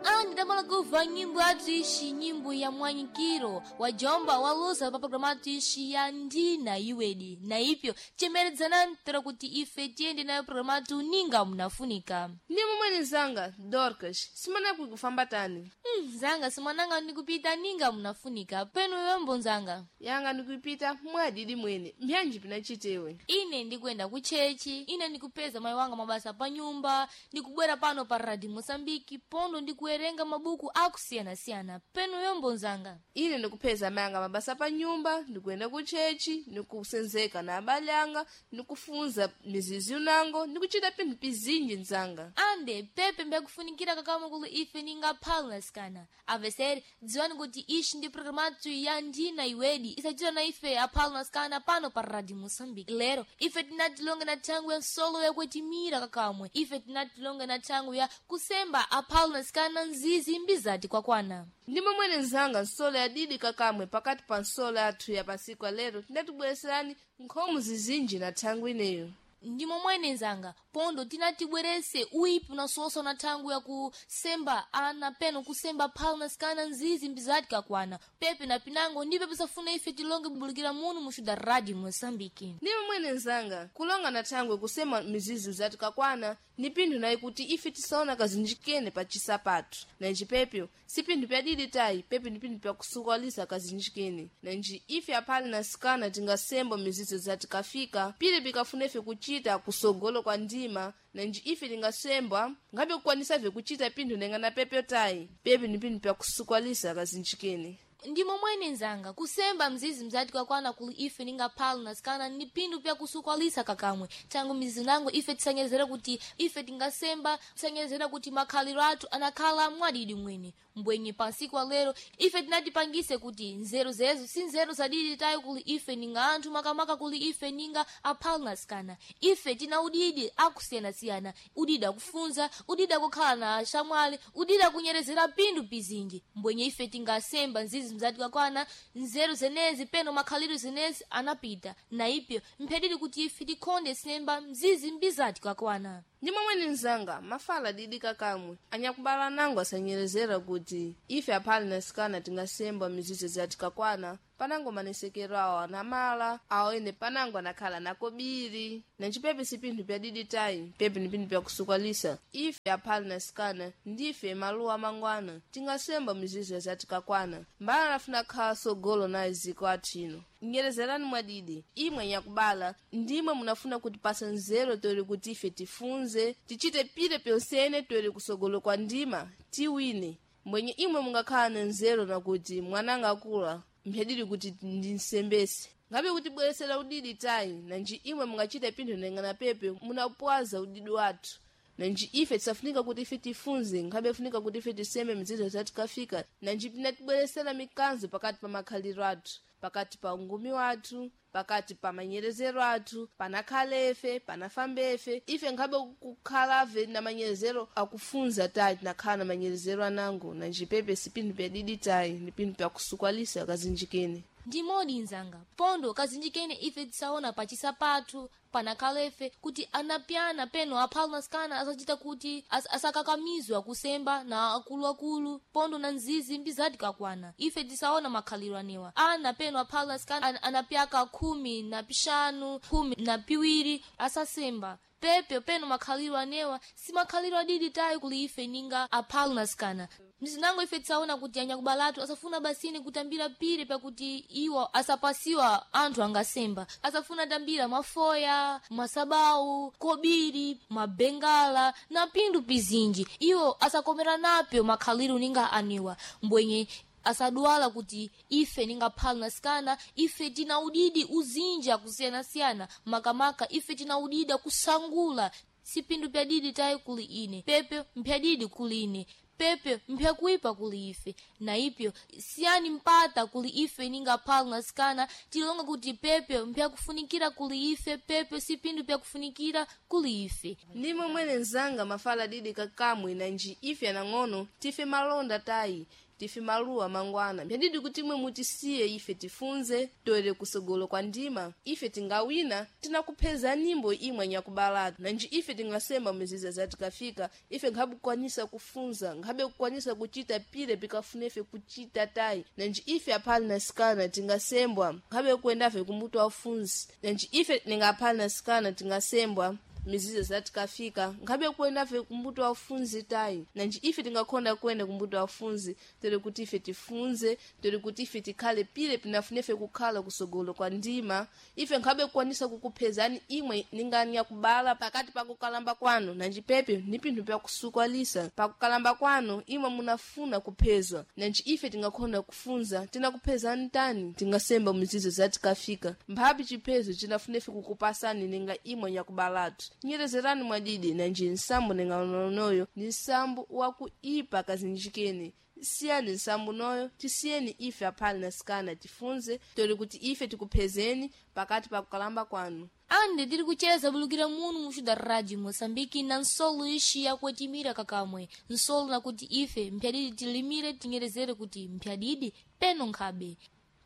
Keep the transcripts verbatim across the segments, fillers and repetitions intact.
Andamala kuva nyimbo yathu nyimbo ya mwanyikiro wajomba walusa pa programa yathu ixi ya ndina iwedi na ipyo chemeredzanani tera kuti ife tiyende nayo programa yathu ninga munafunika. Ndi momwe nzanga Dorcas, simana kufamba tani. Hmm, nzanga simananga ndikupita ninga munafunika penu yombo nzanga. Yanga ndikupita mwadidi mwene, mbyanji pinachitewe. Ine ndikuyenda kuchechi, ine ndikupeza mayi wanga mabasa pa nyumba, ndikubwera pano pa Radio Mosambiki pondo ndikuwerenga mabuku akusiyana-siyana penu yombo nzanga. Ine ndikupeza mayanga mabasa pa nyumba, ndikuyenda kuchechi, ndikusenzeka na abale anga, ndikufunza mizizi unango, ndikuchita pinthu pizinji nzanga. Ande pepe mbyakufunikira kakamwe kuli ife ninga phalnasikana avesere dziwani kuti ixi ndi programatu ya ndina iwedi isachita na ife aphalnasikana pano pa Radio Mosambiki. Lero ife tinatilonga na thangu ya nsolo yakwetimira kakamwe, ife tinatilonga na thangu ya kusemba aphalnasikana nzizi mbizati kwakwana. Ndi momwene nzanga nsolo yadidi kakamwe pakati pa nsolo yathu ya pasiku lero tinatibwereserani nkhomo zizinji na thangu ineyo. Ndi momwene nzanga pondo tinatibwerese uipi unasosa na thangu ya kusemba ana peno kusemba phalnasikana nzizi mbizati kakwana pepe na pinango ndipe pisafuna ife tilonge bubulikira munu muxuda Radio Mosambiki. Ndi momwene nzanga kulonga na thangwe kusema mizizi zati kakwana ni pinthu nayi kuti ife tisaona kazinjikene pa chisapatu nanji pepyo si pinthu pyadidi tayi pepe ni pinthu pyakusukalisa kazinjikene nanji ife aphali na sikana tingasemba mizizi zati kafika pili pikafuna ife kuchita kusogolo kwa ndima nanji ife tingasembwa ngabe kukwanisa ife kuchita pinthu nenga na pepyo tayi pepe ni pinthu pyakusukalisa kazinjikene. Ndi momwene nzanga kusemba mzizi mzati kwakwana kuli ife ninga phalnasikana ni pinthu pyakusukwalisa kakamwe tangu mizizi nango ife tisanyezera kuti ife tingasemba tisanyezera kuti makhaliro athu anakhala mwadidi mwene mbwenye pansiku lero ife tinatipangise kuti nzeru zezo si nzeru zadidi tayi kuli ife ninga anthu makamaka kuli ife ninga aphalnasikana ife tina udidi akusiyana-siyana udidi akufunza udidi akukhala na axamwali udidi akunyerezera pinthu pizinji mbwenye ife tingasemba nzizi mzati kakwana nzeru zenezi peno makhaliro zenezi anapita na ipyo mphedidi kuti ife tikhonde semba mzizi mbizati kakwana. Ndi momwene nzanga mafala didi kakamwe anyakubala nango asanyerezera kuti ife aphali na sikana tingasemba mizizi zati kakwana panango manesekero awo anamala awo ene panango anakhala nakobiri nanji pepe si pinthu pyadidi tayi pepe ni pinthu pyakusukalisa ife aphali na sikana ndife maluwa mangwana tingasemba mizizi zati kakwana mbala nafuna khala sogolo naye ziko athu ino nyerezerani mwadidi imwe nyakubala ndimwe munafuna kutipasa nzeru tori kuti ife tifunze tichite pile pyonsene tori kusogolo kwa ndima tiwine mbwenye imwe mungakhala na nzeru nakuti mwananga akula mphedidi kuti ndinsembese ngabe kutibweresera udidi tayi nanji imwe mungachita pinthu nengana pepe munapwaza udidi wathu nanji ife tisafunika kuti ife tifunze nkhabe funika kuti ife tiseme mizizo zatikafika nanji pinatibweresera mikanzo pakati pa makhaliro athu pakati pa ungumi wathu pakati pa manyerezero athu panakhalefe panafambefe ife nkhabe kukhalave na manyerezero akufunza tayi tinakhala na manyerezero anango nanji pepe si pinthu pyadidi tayi ni pinthu pyakusukwalisa kazinjikene. Ndi modi nzanga pondo kazinjikene ife tisaona pachisapathu panakhalefe kuti anapyana peno aphalnasikana asachita kuti as, asakakamizwa kusemba na akuluakulu pondo na nzizi mbizati kakwana ife tisaona makhaliro anewa ana peno aphalnasikana an, anapyaka khumi na pixanu khumi na piwiri asasemba pepe peno makhaliro anewa si makhaliro adidi tayi kuli ife ninga aphalnasikana mzinango ife tisaona kuti anyakubalatu asafuna basini kutambira pire pakuti iwo asapasiwa anthu angasemba asafuna tambira mafoya masabau kobiri mabengala na pinthu pizinji iwo asakomera napyo makhaliro ninga aniwa mbwenye asadwala kuti ife ninga phalnasikana ife tina udidi uzinji akusiyana-siyana makamaka ife tina udidi akusangula si pinthu pyadidi tayi kuli ine pepe mpyadidi kuli ine pepe mpyakuipa kuli ife na ipyo siyani mpata kuli ife ninga phalnasikana tilonga kuti pepe mpyakufunikira kuli ife pepe si pinthu pyakufunikira kuli ife. Ndi momwene nzanga mafala didi kakamwe nanji ife anang'ono tife malonda tayi Tife maluwa mangwana mphadidi kuti imwe mutisiye ife tifunze toere kusogolo kwa ndima ife tingawina tinakupheza nyimbo imwe nyakubalatu nanji ife tingasemba miziza zatikafika ife nkhabe kukwanisa kufunza nkhabe kukwanisa kuchita pile pikafuna ife kuchita tayi nanji ife aphali na sikana tingasembwa nkhabe kuendafe kumutu afunzi nanji ife ningaphali na sikana tingasembwa mizizo zatikafika nkhabe kuendafe kumbuto wafunzi tayi nanji ife tingakhonda kuenda kumbuto wafunzi tere kuti ife tifunze tere kuti ife tikhale pile pinafunefe kukhala kusogolo kwa ndima ife nkhabe kukwanisa kukuphezani imwe ningani yakubala pakati pakukalamba kwanu nanji pepe ni pinthu pyakusukwalisa pakukalamba kwanu imwe munafuna kuphezwa nanji ife tingakhonda kufunza tinakuphezani tani tingasemba mizizo zatikafika mphapi chiphezo chinafunefe kukupasani ninga imwe nyakubalatu nyerezerani mwadidi nanji nsambo ninganonoyo ni nsambo wakuipa kazinjikeni siyani nsambo noyo tisiyeni ife aphali na sikana tifunze tori kuti ife tikuphezeni pakati pa kukalamba kwanu Ande tiri kucheza bulukira munu muxuda rádio Moçambique na nsolo ixi yakuetimira kakamwe nsolo nakuti ife mphyadidi tilimire tinyerezere kuti mphyadidi peno nkhabe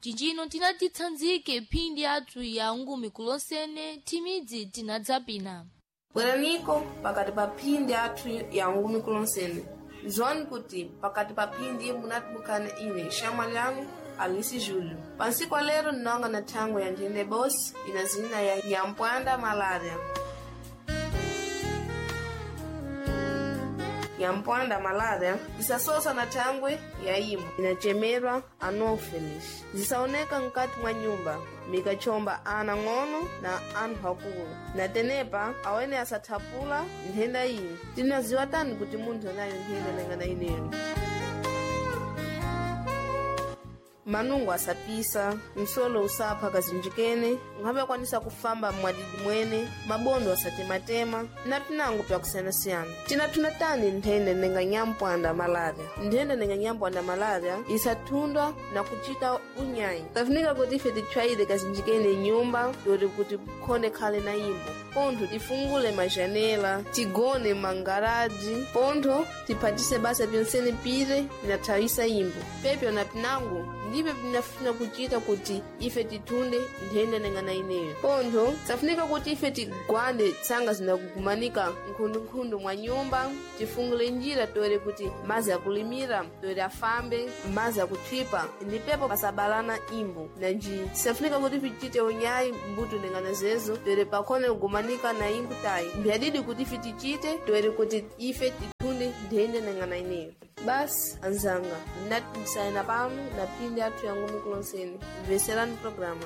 cincino tinatitsanzike phindi athu ya ngumi kulonsene thimidzi tinadzapina bweraniko pakati pa phindi athu ya ngumi kulonsene zwani kuti pakati pa phindi munatibukana ine xamwa lyanu Alice Júlio. Pansiku lero ndinonga na thangwe ya nthende bosi ina zina ya nyampwanda malária. Nyampwanda malária isasosa na thangwe ya imo inachemerwa anopheles zisaoneka mkati mwa nyumba mikachomba ana ng'ono na anthu akulu na tenepa awene asathapula nthenda iyi tinaziwa tani kuti munthu anayo nthenda nangana ineyo manungo asapisa msolo usapha kazinjikene nkhabe akwanisa kufamba mwadidi mwene mabondo asatematema na pinango pyakusiyanasiyana tinathuna tani nthenda nenga nyampwanda malaria nthenda nenga nyampwanda malaria isathundwa na kuchita unyayi kafunika kuti ife titchwayire kazinjikene nyumba yoti kuti khonde khale na imbo pontho tifungule majanela tigone mangaraji pontho tiphatise basa pyonsene pire pinathawisa imbo pepyo na pinango ndipyo pinafuna kuchita kuti ife tithunde nthenda nengana ineyo pontho safunika kuti ife tigwande tsanga zinakugumanika nkhundunkhundu mwa nyumba tifungule njira toere kuti mazi akulimira toere afambe mazi akuthwipa ndipepo pasabalana imbo nanji safunika kuti tichite unyayi mbuto nengana zezo toere pakhone kugumanika na imbo tayi mbyadidi kuti ife tichite toere kuti ife tithunde nthenda nengana ineyo basi anzanga ndinatisayina pano na phindi athu yangumi kulonseni mveserani programa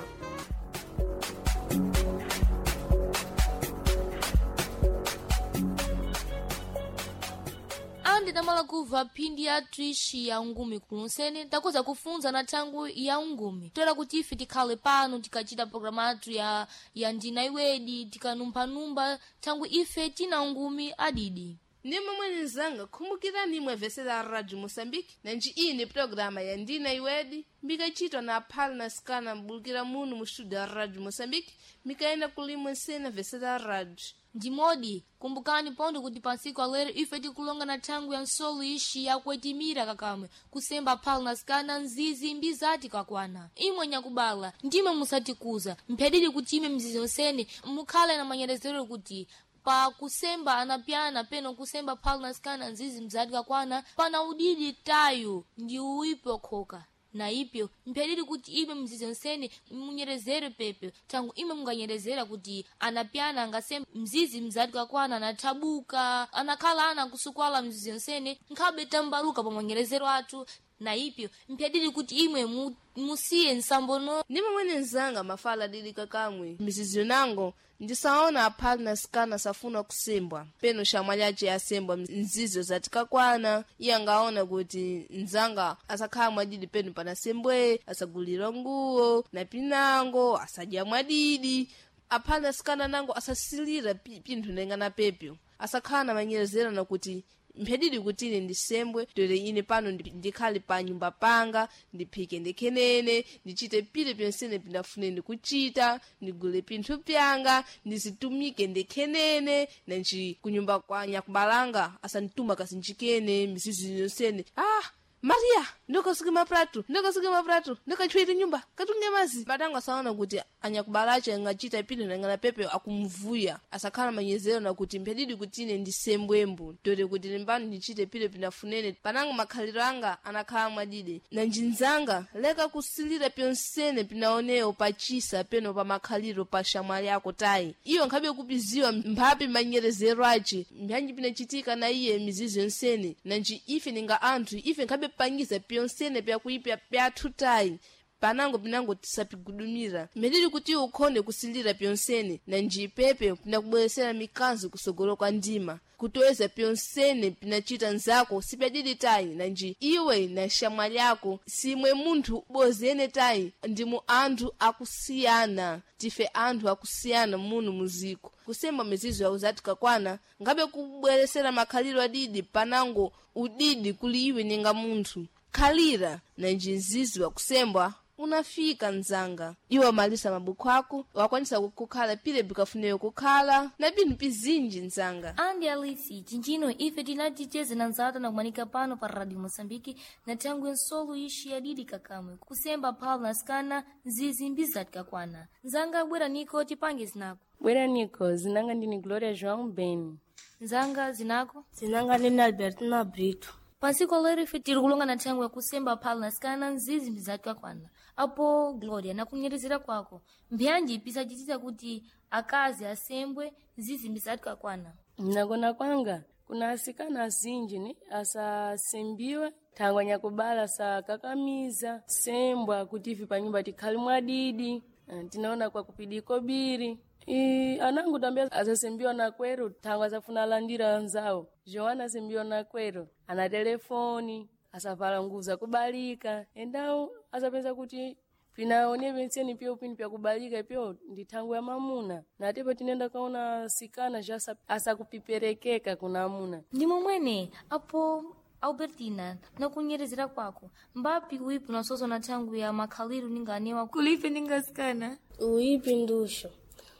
Ande tamala kubva phindi yathu ixi ya ngumi kulonsene takuza kufunza na thangu ya ngumi toera kuti ife tikhale pano tikachita programa athu ya, ya ndina iwedi tikanumphanumba thangu ife tina ngumi adidi ndi momwe nzanga khumbukirani imwe vese la radio moçambique nanji iyi ni programa ya ndina iwedi mikachitwa na aphale na sikana mbulukira munu mu studio ya radio moçambique mikaenda kulimwe nsena vese la radio ndimodi kumbukani pondo kuti pansiku alero ife tikulonga na thangu ya nsolo ixi yakuetimira kakamwe kusemba phalo na sikana nzizi mbizati kakwana imwe nyakubala ndimwe musatikuza mphyadidi kuti ime mzizi yonsene mukhale na manyerezero kuti pa kusemba anapyana peno kusemba phalo na sikana nzizi mzati kakwana pana udidi tayo ndi uipi okhoka na ipyo mpyadidi kuti ime mzizi nsene munyerezere pepe tangu ime munganyerezera kuti anapyana angasemba mzizi mzati kakwana anathabuka anakhala ana kusukwala mzizi nsene nkhabe tambaluka pa manyerezero athu na ipyo mpyadidi kuti imwe mu, musiye nsambono ndi momwe nzanga mafala adidi kakamwe mizizi nango ndisaona aphali na sikana safuna kusembwa peno xamwa lyace asembwa nzizo zatikakwana iye angaona kuti nzanga asakhala mwadidi peno panasembwe asagulira nguwo na pinango asadya mwadidi aphali na sikana nango asasilira pi- pinthu nengana pepyo asakhala na manyerezerana kuti mphedidi kuti ine ndisembwe tere ine pano ndi- ndikhale pa nyumba panga ndiphike ndikhenene ndichite pile pyonsene pindafune ndikuchita ndigule pinthu pyanga ndizitumike ndikhenene nanji kunyumba kwa nyakubalanga asandituma kasinjikene mizizi yonsene ah Maria, ndikasuke mapratu, ndikasuke mapratu, ndikachwere nyumba, katunge mazi. Patango asaona kuti anyakubalache angachita pino nangana pepe akumvuya. Asakhala manyezero na kuti mphedidi kuti ine ndisembwembu. Tote kuti limbano ndichite pino pinafunene. Panango makhaliro anga anakhala mwadide. Na njinzanga leka kusilira pyonsene pinaonewo pachisa peno pa makhaliro pa shamwali ako tayi. Iyo nkhabe kupiziwa mphapi manyerezero ace. Mbyanji pinachitika na iye mizizi yonsene. Nanji ife ninga anthu ife nkhabe pangiza pyonsene pyakuipya pyathu tayi. Panango pinango tisapigudumira mphedidi kuti ukhone kusilira pyonsene nanji pepe pinakubweresera mikanzo kusogolo kwa ndima kutoweza pyonsene pinachita nzako sipyadidi tayi nanji iwe na shamwali yako simwe munthu bozene tayi ndimu anthu akusiyana tife anthu akusiyana munu muziko kusemba mizizo yawo zatikakwana ngabe kubweresera makhaliro adidi panango udidi kuli iwe ninga munthu khalira nanji mzizi wakusembwa unafika mzanga iwe wamalisa mabuku ako wakwanisa kukhala pile bikafuneyo kukhala na pinthu pizinji mzanga Andi Alice, chinchino ife tinaticheze na nzata na kumanika pano pa Radio Moçambique na thangwe nsolo ixi yadidi kakamwe kusemba phalo na sikana nzizi mbizati kakwana nzanga bwera niko tipange zinako Bwera niko, zinanga ndini Gloria João Beni. nzanga zinako Zinanga ndini Albertina Brito. pansiku lero ife tiri kulonga na thangwe yakusemba phalo na sikana nzizi mbizati kakwana apo Gloria nakunyerezera kwako mbyanji pisachitisa kuti akazi asembwe nzizi mbizati kakwana Nakona kwanga kuna asikana azinji ni asasembiwe thangwa nyakubala sakakamiza sembwa kuti ife panyumba tikhale mwadidi. Eh, Tinaona kwa kupidiko biri I, anangu tambia asasembiwa na kwero thangwa asafuna alandira anzawo Joana asembiwa na kwero ana telefoni asavala nguvu zakubalika endawo asapeza kuti pinaone penseni pyo pini pyakubalika pyo ndi thangwe ya mamuna natepo tinenda kaona sikana ja asa- asakupiperekeka kuna amuna ndi momwene apo Albertina nakunyerezera kwako mbapi uipi unasozo na thangwi ya makhaliru ninganewa kulipe ningasikana Uipi ndusho.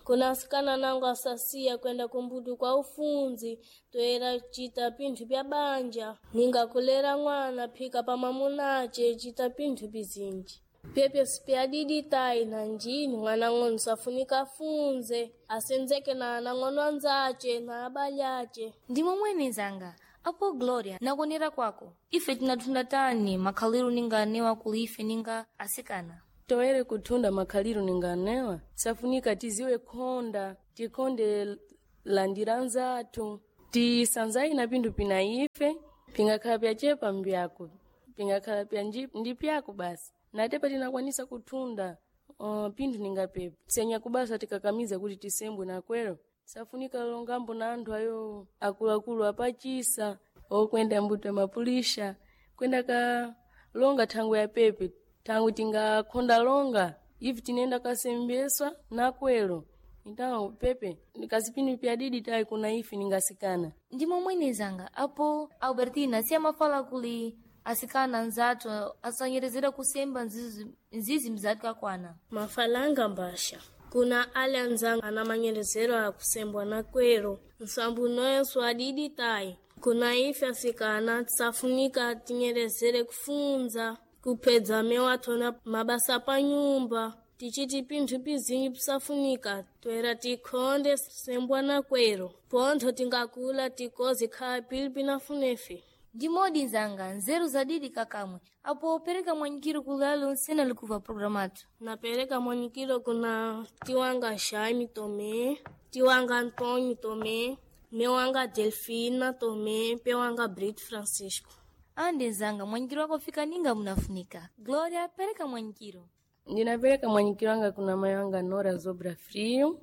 Kuna asikana nango asasiya kwenda kumbudu kwa ufunzi toera chita pinthu pya banja ninga kulera mwana phika pa mamunace chita pinthu pizinji pyepyo sipyadidi tayi na njini mwana ng'ono safunika afunze asenzeke na anang'ono anzace na abale ace ndi momwene zanga apo Gloria nakuonera kwako ife tinathunda tani makhaliru ninganewa kulife ninga asikana toere kuthunda makhaliru ninganewa safunika tiziwe khonda tikhonde landira nzathu tisanzayi na pinthu pina ife pingakhala pyachepa mbyako pingakhala pya nji- ndi pyako basi natepa tinakwanisa kuthunda uh, pinthu ningapepo senyakubasa tikakamiza kuti tisembwe nakwero safunika longambo na anthu ayo akuluakulu apachisa okwenda mbuto ya mapulisha kwenda ka longa thangwe ya pepe thangwe tingakhonda longa ivi tinenda kasembeswa nakwero então pepe nikazipini pyadidi tayi kuna ife ningasikana ndi momwene zanga apo Albertina siyamafala kuli asikana nzathu asanyerezera kusemba nzizi nzizi mzati kakwana mafalanga mbasha kuna ale anzanga ana manyerezero akusembwa na kwero nsambu noyenso adidi tayi kuna ife asikana tisafunika tinyerezere kufunza kupedza mewathona mabasa pa nyumba tichiti pinthu pizinji pisafunika toera tikhonde sembwa na kwero pontho tingakula tikozi khala pili pinafunefe ndi modi nzanga nzeru zadidi kakamwe apo pereka mwanyikiro kulalo nsena likuva programu athu Napereka mwanyikiro kuna tiwanga Jaime Tomé, tiwanga Antônio Tomé, mewanga Delfina Tomé, pewanga Brito Francisco. ande nzanga mwanyikiro wako fika ninga munafunika Gloria pereka mwanyikiro ndinapereka mwanyikiro anga kuna mai anga Nora Zobra Frio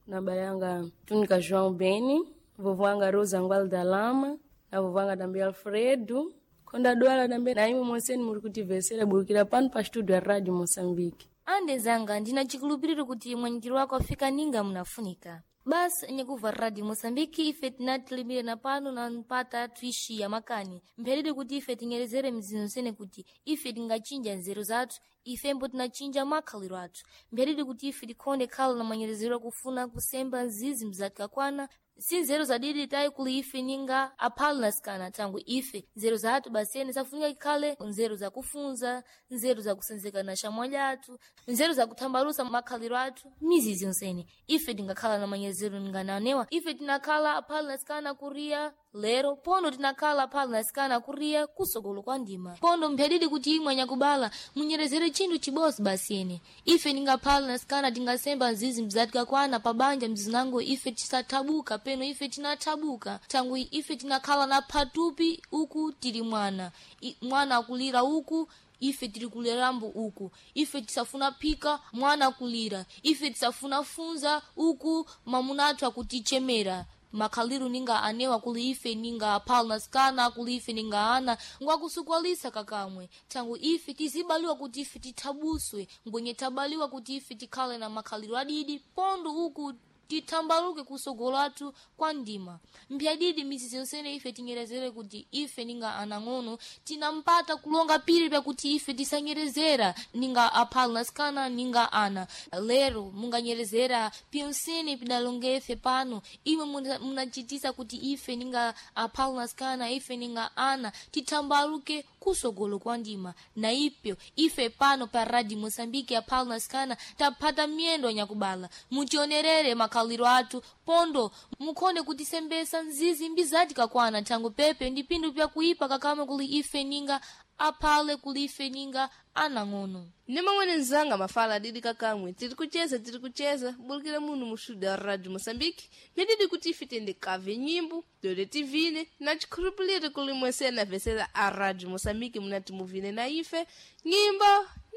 na baba yanga Tunica João Beni vovô anga Rosa Ngwalo da Lama na vovô anga também Alfredo konda dwala também na imwe monseni muri kutivesera burukira pano pa studio ya Rádio Moçambique ande zanga ndina chikulupiriro kuti mwanyikiro wako afika ninga munafunika basi nyakuva Radio Moçambique ife tinatilimire na pano na mpata tuishi ya makani mpherere kuti ife tinyerezere mzinzo sene kuti ife tingachinja nzeru zathu ifembo tinachinja makhaliro athu mpherere kuti ife tikhonde khala na manyerezero akufuna kusemba nzizi mzati kakwana Si nzeru zadidi tayi kuli ife ninga aphale nasikana tangu ife nzeru zathu basene safunika ikhale nzeru zakufunza, nzeru zakusenzeka na xamwali athu, nzeru zakuthambalusa makhaliro athu, mizizi yonsene ife tingakhala na manyezero ningananewa. Ife tinakhala aphale nasikana kuriya lero pondo tinakhala aphale nasikana kuriya kusogolo kwa ndima pondo mphyadidi kuti imwe anyakubala munyerezere chinthu chibosi basene ife ningaphale nasikana tingasemba nzizi mzatikakwana pabanja mzinango ife tisathabuka peno ife tinathabuka tangu ife tinakhala na phatupi uku tili mwana I, mwana akulira uku ife tili kulerambo uku ife tisafuna phika mwana akulira ife tisafuna funza uku mamuna athu akutichemera makhaliru ninga anewa kuli ife ninga aphale nasikana kuli ife ninga ana ngwakusukwalisa kakamwe tangu ife tizibaliwa kuti ife tithabuswe ngwenye tabaliwa kuti ife tikhale na makhaliro adidi pondo uku tithambaluke kusogolo athu kwa ndima mphyadidi mizizi yonsene ife tinyerezere kuti ife ninga anang'ono tinampata kulonga pili pakuti ife tisanyerezera ninga aphale nasikana ninga ana lero munganyerezera pyonsene pidalonge ife pano imwe muna- munachitisa kuti ife ninga aphale nasikana ife ninga ana tithambaluke kusogolo kwa ndima na ipyo ife pano pa radio moçambique aphale nasikana taphata miyendo anyakubala mutionerere makhaliro athu pondo mukhone kutisembesa nzizi mbizati kakwana thango pepe ndi phindu pyakuipa kakama kuli ife ninga aphale kuli ife ninga anang'ono Ni mamwene nzanga mafala adidi kakamwe tiri kucheza tiri kucheza bulikira muno mu studio ya radio moçambique myadidi kuti ife tende kave nyimbo dole tivine na chikhulupiliro kuli mwesena vesera a radio moçambique munati muvine na ife nyimbo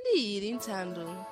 ndi ili nthando.